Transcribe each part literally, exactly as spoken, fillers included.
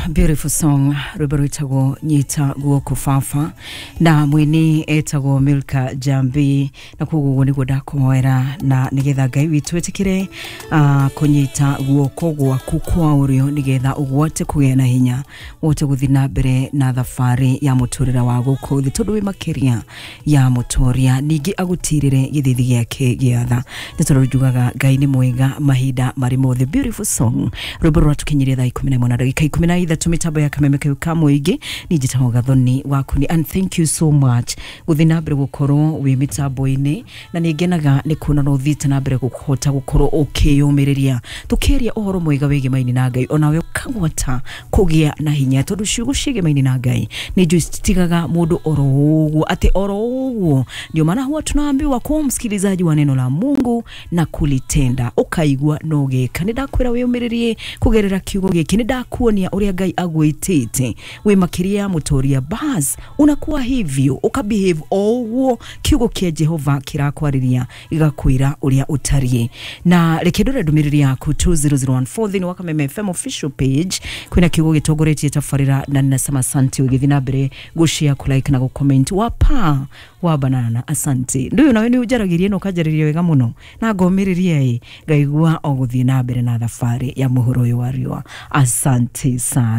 Beautiful song, rwimbo rwitagwo "Nyita Guoko Baba" na mwini etagwo Milka Jambi. Na koguo ũguo nĩguo ndakũhoera, na nĩgetha Ngai witũ ĩtĩkĩre uh, kũnyita guoko gwaku kwa ũrĩo, nĩgetha ũgwate kũgĩa na hinya wote gũthiĩ na mbere na thabarĩ ya mũtũrĩre wa gũkũ thĩ, tondũ wĩ makĩria ya mũtoria. Ningĩ agũtirĩre gĩthithi gĩake gĩa tha, nĩ tondũ njugaga Ngai nĩ mwega mahinda marĩ mothe. Beautiful song, rwĩmbo rwatũkinyirie thaa ikũmi na ĩmwe na ndagĩka ikũmi na ithatũ, mĩtambo ya Kameme kau ka mũingĩ. Niĩ njĩtagwo Gathoni Wakuni, and thank you so much gũthiĩ na mbere gũkorwo wĩ mĩtambo-inĩ, na nĩ ngenaga nĩ kuona no ũthiĩte na mbere kũhota gũkorwo ũkĩyũmĩrĩria tũkĩaria ũhoro mwega wĩgemaini na Ngai, onawe ũkagwata kũgĩa na hinya, tondũ ciugo ciĩgemaini na Ngai nĩ njũĩ citigaga mũndũ oro ũguo, atĩ oro ũguo. Ndio maana huwa tunaambiwa kuwa msikilizaji wa neno la Mungu na kulitenda, ũkaigua no gĩka. Nĩ ndakwĩra wĩyũmĩrĩrie kũgerera kiugo gĩkĩ, nĩ ndakuonia ũrĩa Ngai agwĩtĩte wĩ makĩria ya mũtoria. Bas, unakuwa hivyo, ukabehave o ũguo kiugo kĩa Jehova kĩrakwarĩria, gĩgakwĩra ũrĩa ũtariĩ. Na reke ndore ndũmĩrĩri yaku two zero zero one four thĩinĩ wa Kameme F M official page. Kwĩna kiugo gĩtongoretie tabarĩra, na ninasema asante ũgĩthiĩ na mbere gũshare, kulike na gũcomment. Wapa wa banana, asante. Ndũyũ nawe nĩ ũnjaragĩria na ũkanjarĩria wega mũno na ngomĩrĩria ĩ ngaigua o gũthiĩ na mbere na thabarĩ ya mũhuro ũyũ wa riũa. Asante sana.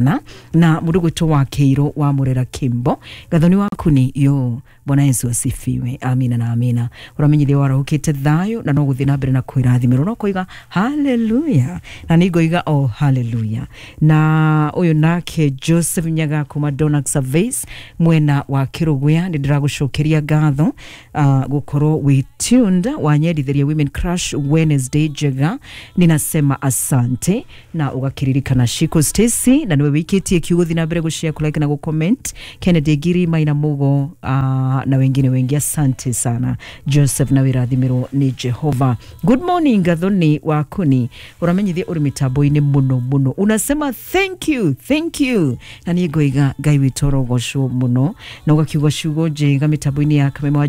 Na mũndũ gwĩtwo wa Kĩirũ wa Mũrera Kimbo, Gathoni waku ni yo. Bwana Yesu asifiwe. Amina na amina. Ũramenyithia warahũkĩte thayũ na no gũthiĩ na mbere na kwĩrathimĩrwo, no kũiga haleluya, na nĩ ngoiga o haleluya. Na ũyũ nake Joseph Nyaga kuma Donax Surveys mwena wa Kĩrũgũya, nĩ ndĩragũcokeria ngatho uh, gũkorwo wĩ tuned. Wanyendithĩria Women Crush Wednesday njega, ninasema asante. Na ũgakĩririkana Shiko Stacy, na nĩwe wĩikĩtie kiugo, thiĩ na mbere gũshare, kulike na gũcomment. Kennedy Ngiri Maina Mugo uh, na wengine wengi, asante sana Joseph, na wĩrathimĩrwo nĩ Jehova. Good morning, Gathoni Wakuni, ũramenyithia ũrĩ mĩtambo-inĩ mũno mũno, unasema thank you, thank you, na niĩ ngoiga Ngai witũ orogocwo mũno, na ũgakiuga ciugo njega mĩtambo-inĩ ya Kameme wa